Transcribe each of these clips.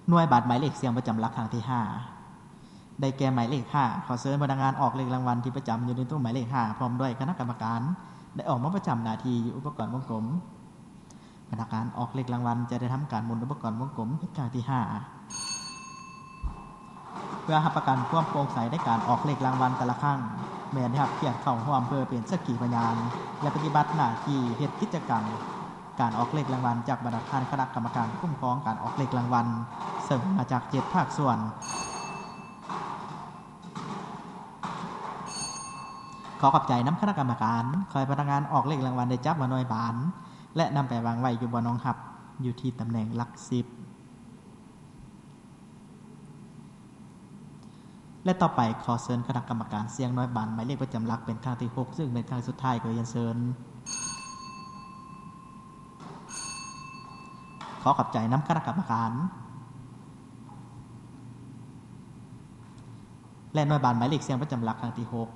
ໜ່ວຍບານໝາຍເລກສ່ຽງປະຈຳຫຼັກຄັ້ງທີຫ້າ ໄດ້ແກ່ໝາຍເລກຫ້າ. ຂໍເຊີນພະນັກງານອອກເລກລາງວັນທີ່ປະຈຳຢູ່ໃນໂຕະໝາຍເລກຫ້າ ພ້ອມດ້ວຍຄະນະກຳມະການ ໄດ້ອອກມາປະຈຳໜ້າທີ່ຢູ່ອຸປະກອນວົງກົມ. ພະນັກງານອອກເລກລາງວັນຈະໄດ້ທຳການໝູນອຸປະກອນວົງກົມເປັນຄັ້ງທີຫ້າ ເພື່ອຮັບປະກັນຄວາມໂປ່ງໃສໃນການອອກເລກລາງວັນແຕ່ລະຄັ້ງ ແມ່ນໄດ້ຮັບກຽດເຂົ້າຮ່ວມເພື່ອເປັນສັກຂີພະຍານ ແລະ ປະຕິບັດໜ້າທີ່ເຮັດກິດຈະກຳການອອກເລກລາງວັນຈາກບັນດາທ່ານຄະນະກຳມະການຄຸ້ມຄອງການອອກເລກລາງວັນ ເຊິ່ງມາຈາກເຈັດພາກສ່ວນ. ຂໍຂອບໃຈນຳຄະນະກຳມະການ. ຂໍໃຫ້ພະນັກງານອອກເລກລາງວັນໄດ້ຈັບມາໜ່ວຍບານ ແລະ ນຳໄປວາງໄວ້ຢູ່ບ່ອນຮອງຮັບ ຢູ່ທີ່ຕຳແໜ່ງຫຼັກສິບ. ແລະ ຕໍ່ໄປຂໍເຊີນຄະນະກຳມະການສ່ຽງໜ່ວຍບານໝາຍເລກປະຈຳຫຼັກເປັນຄັ້ງທີຫົກ ຊຶ່ງເປັນຄັ້ງສຸດທ້າຍ. ຂໍຮຽນເຊີນ. ຂໍຂອບໃຈນຳຄະນະກຳມະການ ແລະ ໜ່ວຍບານໝາຍເລກສ່ຽງປະຈຳຫຼັກຄັ້ງທີຫົກ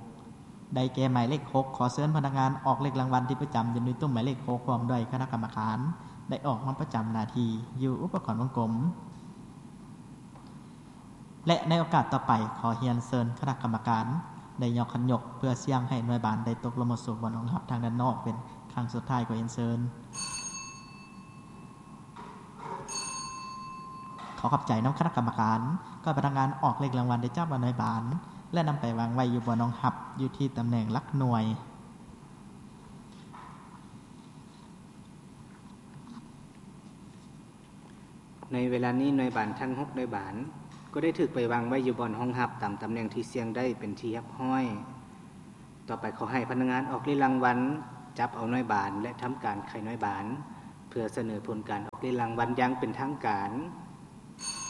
ໄດ້ແກ່ໝາຍເລກຫົກ. ຂໍເຊີນພະນັກງານອອກເລກລາງວັນທີ່ປະຈຳຢູ່ໃນໂຕະໝາຍເລກຫົກ ພ້ອມດ້ວຍຄະນະກຳມະການ ໄດ້ອອກມາປະຈຳໜ້າທີ່ຢູ່ອຸປະກອນວົງກົມ. ແລະ ໃນໂອກາດຕໍ່ໄປ ຂໍຮຽນເຊີນຄະນະກຳມະການໄດ້ຍົກຂັນຍົກເພື່ອສ່ຽງໃຫ້ໜ່ວຍບານໄດ້ຕົກລົງມາສູ່ບ່ອນຮອງຮັບທາງດ້ານນອກເປັນຄັ້ງສຸດທ້າຍ. ຂໍຮຽນເຊີນ. ຂໍຂອບໃຈນຳຄະນະກຳມະການ. ຂໍໃຫ້ພະນັກງານອອກເລກລາງວັນໄດ້ຈັບມາໜ່ວຍບານ ແລະ ນຳໄປວາງໄວ້ຢູ່ບ່ອນຮອງຮັບ ຢູ່ທີ່ຕຳແໜ່ງຫຼັກໜ່ວຍ. ໃນເວລານີ້ໜ່ວຍບານທັງຫົກໜ່ວຍບານ ກໍໄດ້ຖືກໄປວາງໄວ້ຢູ່ບ່ອນຮອງຮັບຕາມຕຳແໜ່ງທີ່ສ່ຽງໄດ້ເປັນທີ່ຮຽບຮ້ອຍ. ຕໍ່ໄປຂໍໃຫ້ພະນັກງານອອກເລກລາງວັນຈັບເອົາໜ່ວຍບານ ແລະ ທຳການໄຂໜ່ວຍບານ ເພື່ອສະເໜີຜົນການອອກເລກລາງວັນຢ່າງເປັນທາງການ.